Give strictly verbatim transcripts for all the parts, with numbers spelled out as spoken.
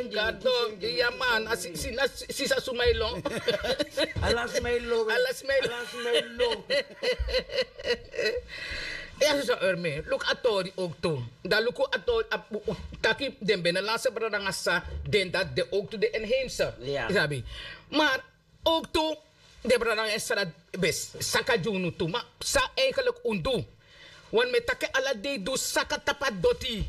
Kado, iya man, a si- si- na si- sisa suma e lon. Ala sma e lon. Ala sma e lon. Ala sma e lon. Ya, so Erme, luku a tori ook tu. Dan luku a tori, a- u- u- taki den binnenlandse brada nanga sa, den dat de ook tu de inheemse. Ja. Sabi. Maar ook tu, den brada nanga sa, bes, saka gi unu tu. Maar sa eigenlijk un du. Want mi e taki ala dei du saka tapu a doti.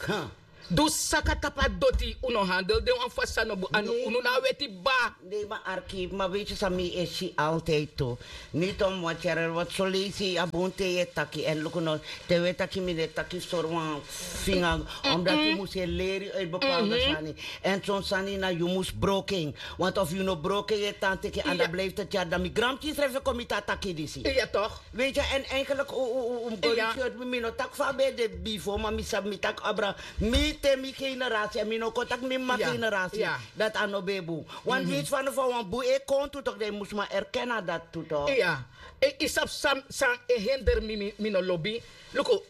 Huh. Du saka tapu a doti, un no handel den wan fasi san no bun, unu na a weti baba. Nee, maar Arki, maar weet je, san mi e si altijd tu. Niet om wat, Cheryl, want zo leisi a bun te yu e taki. En luku no, te wi e taki, mi no e taki sori wan finga, omdat yu mus e leri uit bepaalde sani. En son sani na yu mus broko en. Want of yu no broko en, yu e tan teki, en dan blijft het jaar, dan mi granpikin srefi e kon miti a taki disi. Ja, toch? Weet je, en eigenlijk, u, u, u, u, mi, mi no taki fa a ben de bifo, maar mi sabi, mi taki abra, mi te mi generatie, en mi no kon taki mi mama generatie, dat a no ben bun. Want winsi fa no fa wan bun e kon tu toch, dan yu mus man erken na dat tu toch. Ja. E, yu sabi san, san e hinder mi, mi, mi no lobi. Luku,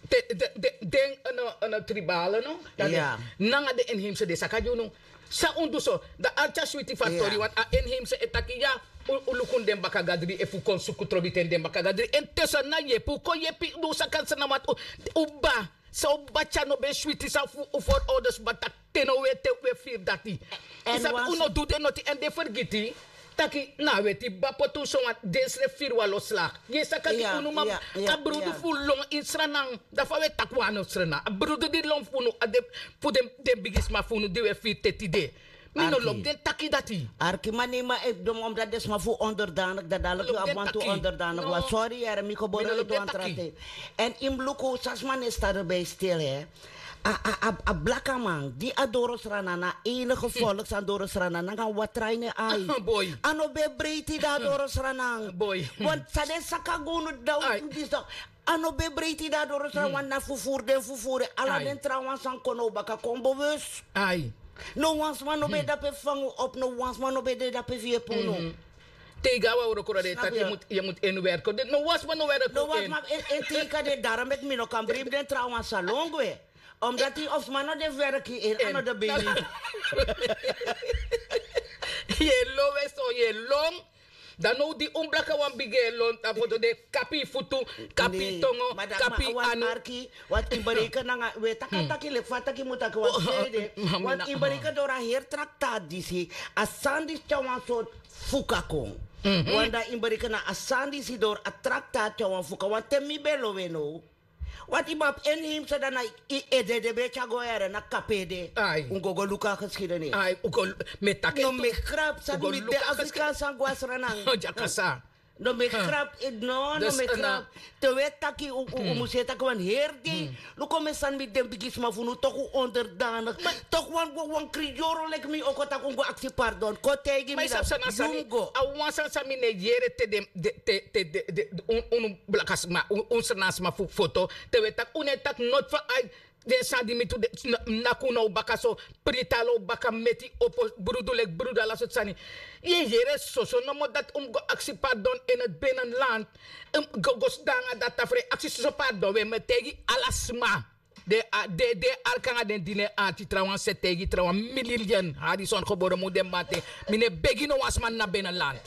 te- de- de- den, eh, no, eh, no, tribale, no? Dan den- nanga den inheemse den saka gi unu. San un du so, dan arki a switi fu a tori, want a inheemse e taki ya, un- un luku den baka gadri, efu kon suku trobi ten den baka gadri. En te so na yepi, un kon yepi, un saka Sranan, want un- un baba, san un baba tyari no ben switi, san fu un voorouders baba taki te no we te we firi dati. Yu sabi, un no du den noti, en den fergiti taki na a weti baba poti un so, want den srefi firi wan lo slag. Yu e saka gi unu mama, a brudu fu lon ini Sranan. Dan fa we taki wan no Sranan, a brudu di lon fu unu, a de fu den- den bigisma fu unu di we firi te tide. Mi no lobi den taki dati. Arki, ma nei, ma e dom, omdat den sma fu onderdanig, dan dadelijk yu abi wantu onderdanig wan. Sorry, yere, mi koboro e du wan tra ten. En yu mus luku san sma no e stade bij stil, hè. A- a- a- a blakaman di a doro Sranan, na enige volk san doro Sranan nanga watra ini en ai. A no ben breiti di a doro Sranan. Want san den saka gi unu dan, disi dan, a no ben breiti di a doro Sranan, want na fufuru den fufuru en, ala den trawan san kon now baka kon bewus. No wan sma no ben de dape fu fanga unu op, no wan sma no ben de dape fu yepi unu. Te yu go na wan wroko, dan den e taki yu mus- yu mus en werki. No wan sma no werki. No wan sma en- en teki den, daarom meki mi no kan bribi den trawan salon gwe. Omdat yu of sma no de fu werki en a no de beni. Yu e lon we so, yu e lon. Dan now di un blakawan bigin e lon, dan foto den kapi yu futu, kapi yu tongo, kapi yu anu. Arki, want yu bereken nanga, we taki a taki leki fa a taki mu taki, want yu bereken doro a heri traktaat disi, a sani disi tyari wan sortu fuka kon. Want dan yu bereken na a sani disi doro a traktaat tyari wan fuka, want te mi ben lon we now. Want yu ben abi inheemse, dan na yu ede den ben e tyari go, yere, na kapu ede. Un go go luku a geschiedenis. Ai, un go- mi e taki no, mi e grap, san mi de Afrikaans san go na Sranan. No, mi e grap, eh, no, no, mi e grap. Te we taki, un- un- un mus e taki wan heri dei. Luku, mi e sani miti den bigisma fu unu, toch un onderdanig. Toch wan- wan- wan kriyoro leki mi o kon taki un go aksi pardon. Kon taigi mi dati. Yu mus go. A wan sani san mi no e yere te den- de- te- te- de- de- un- unu blaka sma, un- un Sranan sma fu foto. Te we taki, un no e taki noti fu ai. Den sani di mi tu de- na- naki un now baka so, priti ala un baka, meti opo brudu leki brudu, ala sortu sani. Yu e yere soso nomo dati, un mus go aksi pardon in het binnenland. Un mus go- go sidon nanga dati tafrei, aksi soso pardon. We, mi e taigi ala sma. Den a- den- den arki nanga den dini en arki, trawan seti, taigi trawan, miliyun Harrison gebore mu de mamanten. Mi no e begi no wan sma na binnenland.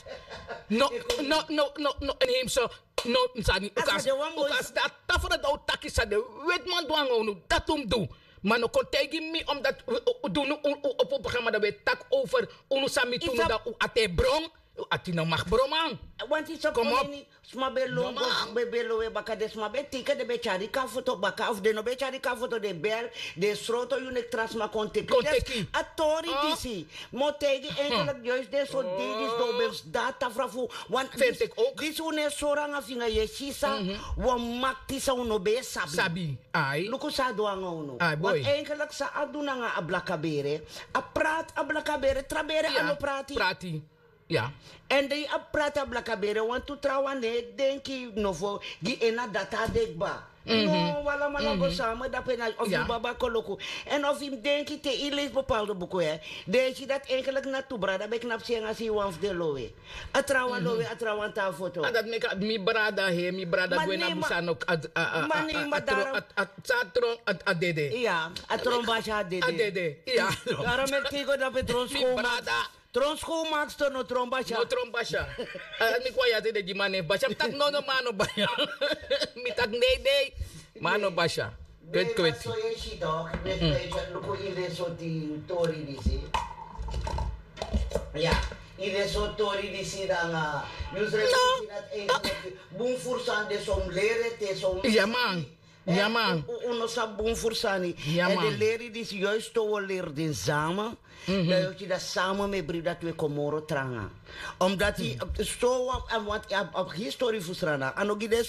No, no, no, no, no inheemse. No, sani, un kan- un kan sidon a tafra dan un taki san den wetiman du nanga unu, dati un mus du. Ma no kon taigi mi, omdat u- u- u- dunu un- un- opo programma dan we taki over unu san mi tu, dan un ati e bron, un ati no mag bron, man. Want yu sabi, sma ben lon go- ben- ben lon we baka, den sma ben teken, den ben tyari kafoto baka, of den no ben tyari kafoto, den bel, den sroto yu nek tra sma kon teki. Kon teki. A tori disi. Mi o taigi yu, eigenlijk juist den sortu dei disi, dan un ben sidon a tafra fu, want disi- disi un no e sori nanga finga, yu e si san wan makti san un no ben e sabi. Sabi, ai. Luku san a du nanga unu. Ai, boy. Want eigenlijk san a du nanga a blaka bere, a prati a blaka bere, tra bere a no prati. Prati. Ya. En dan yu abi prati a blaka bere, wantu trawan no e denki nofo gi en na data de kba. No, wi alamala go same dape na of yu baba koloku. En of yu mus denki te yu leisi bepaalde buku, hè, den e si dati enkeliki na tu brada ben knapu si en a si yu wan fu den lowe. A trawan lowe, a trawan tan foto. A dati meki a mi brada he mi brada gwe na busa no. Ma nei ma daro. A tron a dede. Iya, a tron basi a dede. A dede. Iya. Daro meki te yu go dape tron skow maki. Tron skow maki sto no tron basi. No tron basi. A mi kon ya te de gi man nen basi a mi taki no no man no basi. Mi taki nei nei. Man no basi. Kweti kweti. So yu e si tok, luku ini den sorti tori disi. Ya, ini den sorti tori disi nanga. Yu srefi si dati en bun furu sani de son leri ete son. Ya man. Ya man. Un no sabi bun furu sani. Ya man. En den leri disi juist to wi o leri den sama. Dan yu o si dati sama mi e bribi dati wi e kon moro tranga. Omdati so wan a want a histori fu srana a no gi den.